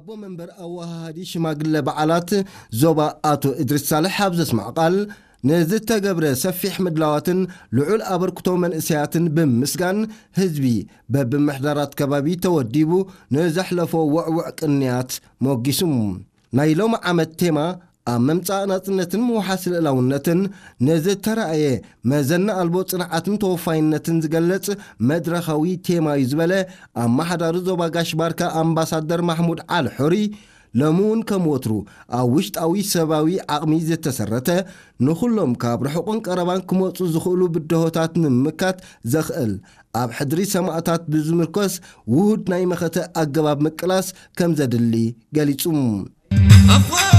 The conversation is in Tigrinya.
ኣቦ መንበር ኣወሃሃዲ ሽማግለ በዓላት ዞባ ኣቶ እድሪስ ሳልሕ ኣብ ዘስማዕ ቃል፣ ንዝተገብረ ሰፊሕ ምድላዋትን ልዑል ኣበርክቶ መንእሰያትን ብምምስጋን፣ ህዝቢ በብምሕዳራት ከባቢ ተወዲቡ ንዘሕለፎ ውዕውዕ ቅንያት ሞጊሱ። ናይ ሎሚ ዓመት ቴማ ኣብ ምምጻእ ናጽነትን ምውሓስ ልእላውነትን ንዝተራእየ መዘና ኣልቦ ጽንዓትን ተወፋይነትን ዝገልጽ መድረኻዊ ቴማ እዩ ዝበለ ኣመሓዳሪ ዞባ ጋሽ ባርካ ኣምባሳደር ማሕሙድ ዓሊ ሑሪ፣ ሎሚ እውን ከም ወትሩ ኣብ ውሽጣዊ ሰባዊ ዓቕሚ ዝተሰረተ፣ ንኹሎም ካብ ርሑቕን ቀረባን ክመጹ ዝኽእሉ ብድሆታት ንምምካት ዘኽእል ኣብ ሕድሪ ሰማእታት ብዝምርኮስ ውሁድ ናይ መኸተ ኣገባብ ምቅላስ ከም ዘድሊ ገሊጹ።